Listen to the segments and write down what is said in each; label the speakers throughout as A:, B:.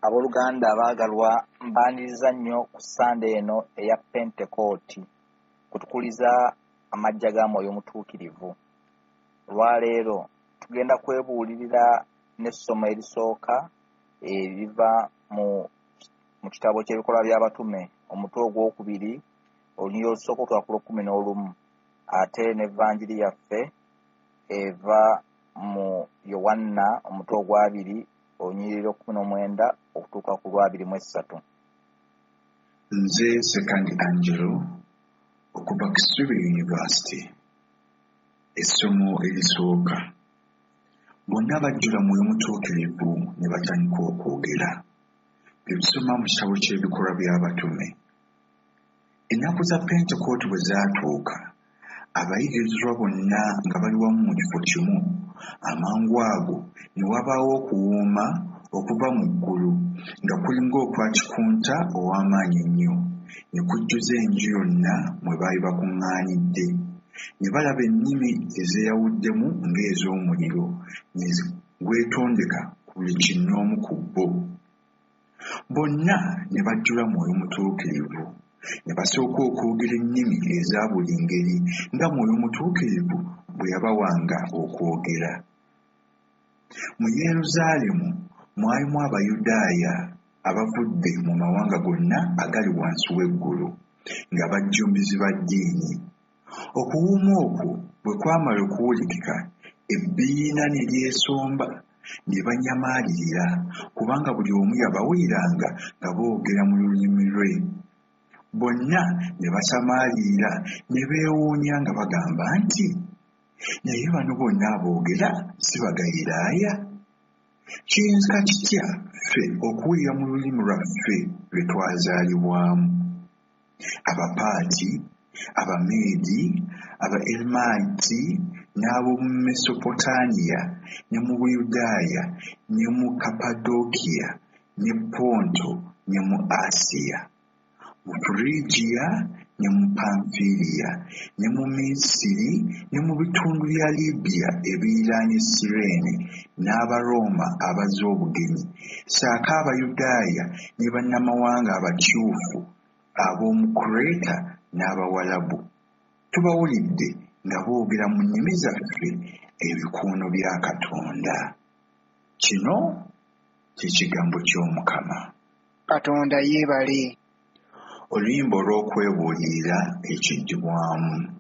A: Abooluganda abaagalwa, mbaaniriza nnyo ku Ssande eno eya Pentekooti kutukuliza amajja ga Mwoyo Mutuukirivu. Olwaleero tugenda kwebuulirira n'essomo erisooka eriva mu kitabo ky'Ebikolwa by'Abatume, omutwe ogwokubiri, olunyiriri olusooka okutuuka ku lw'ekkumi n'olumu, ate n'Evanjiri yaffe eva mu Yowanna omutwe ogwabiri, olunyiriri lw'ekkumi n'omwenda okutuuka ku lwabiri mu essatu.
B: Nze Ssekandi Angelo okuva Kisubi University. Essomo erisooka. Bonna bajjula Mwoyo Mutuukirivu ne batandika okwogera. Bye tusoma mu kitabo ky'Ebikolwa by'Abatume. Ennaku za Pentekooti bwe zaatuuka, abayigirizwa bonna nga bali wamu mu kifo kimu, amangu ago ne wabaawo okuwuuma okuva mu ggulu nga kulinga okwa kikunta ow'amaanyi ennyo, ne kujjuza enju yonna mwe baali bakuŋŋaanidde. Ne balaba ennimi ezeeyawuddemu ng'ez'omuliro ne gwetondeka ku buli kinnoomu ku bo. Bonna ne bajjula Mwoyo Mutuukirivu, ne basooka okwogera ennimi eza buli ngeri nga Mwoyo Mutuukirivu bwe yabawanga okwogera. Mu Yerusaalemu mwalimu Abayudaaya abavudde mu mawanga gonna agali wansi w'eggulu, nga bajjumbizi ba ddiini. Okuwuuma okwo bwe kwamala okuwulikika, ebbiina ne lyesomba ne banyamaalirira, kubanga buli omu yabawuliranga nga boogera mu lulimi lwe. Bonna ne basamaalirira ne beewuunya nga bagamba nti, naye bano bonna aboogera si Bagaliraaya? Kiyinzika kitya ffe okuwulira mu lulimi lwaffe lwe twazaalibwamu? Abapaati, Abameedi, Abaeramiti n'ab'omu Mesopotamiya ne mu Buyudaaya ne mu Kapadokiya ne Ponto ne mu Asiya, mu Furigiya ne mu Panfiliya ne mu Misiri ne mu bitundu bya Libiya ebiriraanye Sireene n'Abarooma abazze obugenyi, ssaako Abayudaaya ne bannamawanga abakyufu ab'omu Kureta n'Abawalabu. Tubawulidde nga boogera mu nnimi zaffe ebikuuno bya Katonda. Kino kye kigambo ky'Omukama.
C: Katonda yeebale.
B: Oluyimba olw'okwebuulirira ekiddibwamu.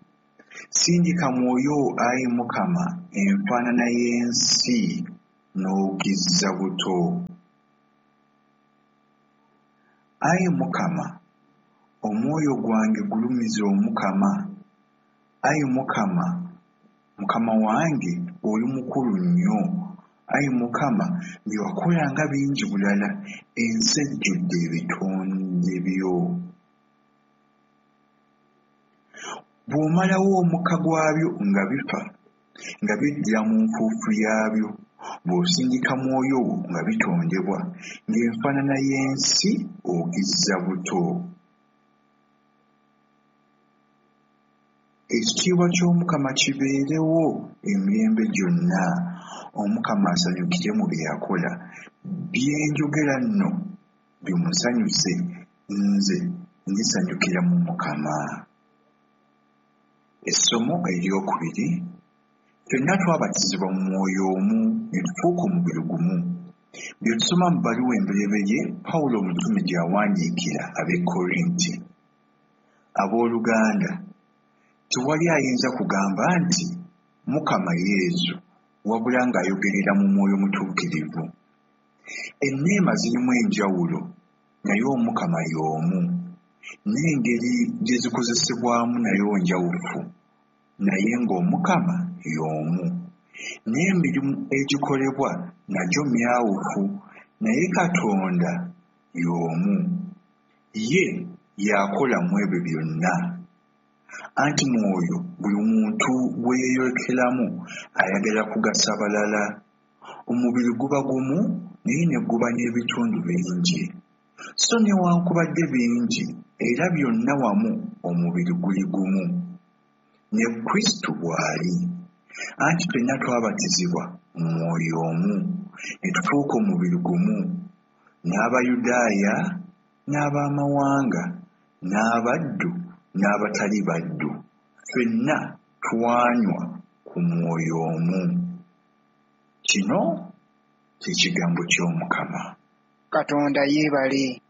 B: Sindika Mwoyo wo ayi Mukama enfaanana y'ensi n'ogizza buto. Ayi Mukama, omwoyo gwange gulumiza Omukama. Ayi Mukama, Mukama wange, oli mukulu nnyo. Ayi Mukama, bye wakola nga bingi bulala, ensi ejjudde ebitonde byo. Bw'omalawo omukka gwabyo nga bifa, nga biddira mu nfuufu yaabyo, bw'osindika Mwoyo wo nga bitondebwa, ng'enfaanana y'ensi ogizza buto. Ekitiibwa ky'Omukama kibeerewo emirembe gyonna, Omukama asanyukire mu bye yakola. Bye njogera nno bimusanyuse, nze ndisanyukira mu Mukama. Essomo eryokubiri, ffenna twabatizibwa mu mwoyo omu ne tufuuka omubiri gumu. Bye tusoma mu bbaluwa embereberye Pawulo omutume gy'awandiikira ab'e Korinti. Abooluganda, tewali ayinza kugamba nti Mukama Yezu wabula ng'ayogerera mu Mwoyo Mutuukirivu. Enneema zirimu enjawulo naye Omukama y'omu, n'engeri gye zikozesebwamu nayo njawufu naye ng'Omukama y'omu. N'emirimu egikolebwa nagyo myawufu naye Katonda y'omu. Ye y'akola mu ebyo byonna. Anti Mwoyo buli muntu gwe yeeyolekeramu ayagala kugasa balala. Omubiri guba gumu naye ne guba n'ebitundu bingi. So newankubadde bingi era byonna wamu omubiri guli gumu. Ne Kristo bw'ali. Anti ffenna twabatizibwa mu Mwoyo omu, ne tufuuka omubiri gumu. N'Abayudaaya n'abamawanga, n'abaddu n'abatali baddu, ffenna twanywa ku mwoyo omu. Kino kye kigambo ky'Omukama.
C: Katonda yeebale.